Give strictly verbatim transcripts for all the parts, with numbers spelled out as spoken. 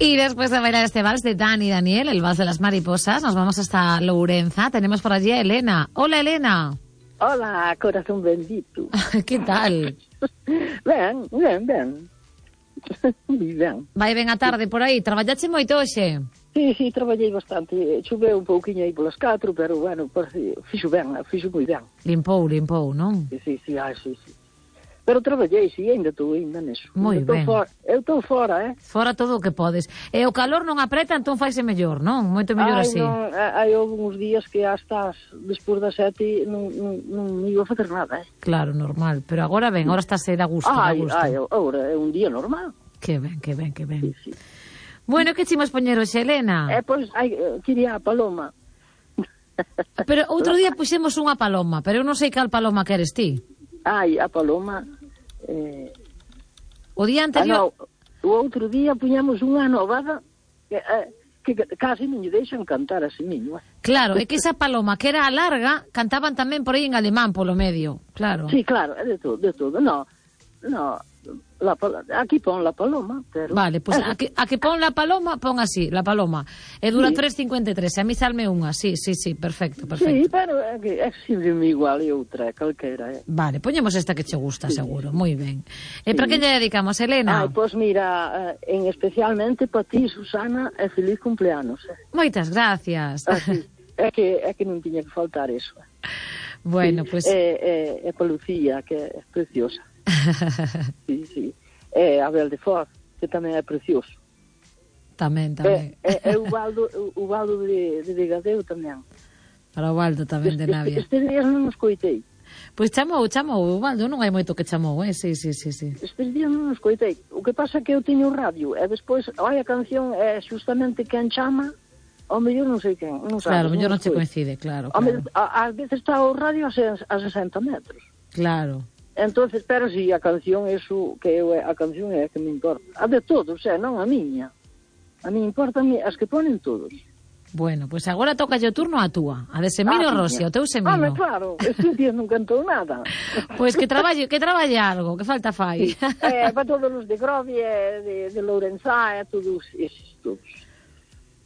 Y después de bailar este vals de Dani y Daniel, el vals de las mariposas, nos vamos hasta Lourenza. Tenemos por allí a Elena. Hola, Elena. Hola, corazón bendito. ¿Qué tal? Ben, ben, ben. Moi ben. Vai ben a tarde por aí. Traballache moito hoxe? Sí, sí, traballei bastante. Choveu un pouquinho aí polas catro, pero, bueno, parece, fixo ben, fixo moi ben. Limpou, limpou, non? Sí, sí, sí, ah, sí, sí. Pero traballei, sí, ainda estou ainda neso. Moi ben. For, eu estou fora, eh? Fora todo o que podes. E o calor non apreta, entón faise mellor, non? Moito mellor Ai, así. Non, hai uns días que hasta despois das sete non, non, non iba a facer nada, eh? Claro, normal. Pero agora ben, agora estás a gusto, a ai, gusto. Ai, agora é un día normal. Que ben, que ben, que ben. Sí, sí. Bueno, que chimos poñer hoxe, Elena? Eh, pois, ai, quería a paloma. Pero outro día puxemos unha paloma, pero eu non sei cal paloma que eres ti. Ai, a paloma... Eh... O día anterior... Ah, no, o outro día puñamos unha novada que, eh, que casi non lle deixan cantar a semiño. Claro, é que esa paloma que era a larga, cantaban tamén por aí en alemán polo medio, claro. Sí, claro, é de todo, de todo. No, no, la, aquí pon la paloma, pero... Vale, pois pues a, que, a que pon la paloma, pon así, la paloma. E dura sí. tres cincuenta e tres, a mí salme unha, sí, sí, sí, perfecto, perfecto. Sí, pero é que é sempre igual e outra, calquera. Eh. Vale, poñemos esta que che gusta, sí, seguro, moi ben. E sí. para que lle dedicamos, Elena? Ai, pois mira, en especialmente para ti, Susana, e feliz cumpleanos. Eh. Moitas gracias. Ah, sí. É que, é que non tiña que faltar eso. Bueno, pois... Pues... É, é, é para Lucía, que é preciosa. Sí, sí. É Abel de Foz, que tamén é precioso. Tamén, tamén. É, é, é o Baldo, o Baldo de, de Vegadeo tamén. Para o Baldo tamén de Navia. Estes días non os coitei. Pois chamou, chamou, o Baldo non hai moito que chamou, eh? Sí, sí, sí, sí. Estes días non os coitei. O que pasa é que eu teño radio, e despois, ai, a canción é justamente quen chama, ao mellor non sei quen, non sabes. Claro, ao mellor non che sei. coincide, claro, claro. Ás veces está o radio a, a sesenta metros. Claro. Entonces, pero si a canción, eso, que eu, a canción é a que me importa. A de todos, é, non a miña. A mí importa as que ponen todos. Bueno, pois pues agora toca o turno a túa, a de Semino ah, Rossi, o teu Semino. Ah, claro, estes días non cantou nada. Pois pues que traballe, que traballe algo, que falta fai. É, para todos os de Grovia, de, de Lourenzá, todos eses, todos.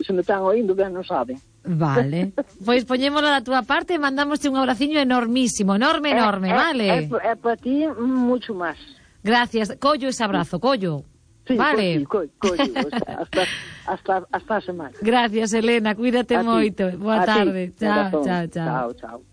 Se me están oindo, ben non saben. Vale, pois poñémola da túa parte e mandamos un abraciño enormísimo, enorme, enorme, é, vale? É, é, é para ti mucho máis. Gracias, collo ese abrazo, collo. Sí, vale. Pues sí, collo, o sea, hasta, hasta, hasta a semana. Gracias, Elena, cuídate a moito. Ti. Boa a tarde. Ti. Chao, chao, chao. Chao, chao.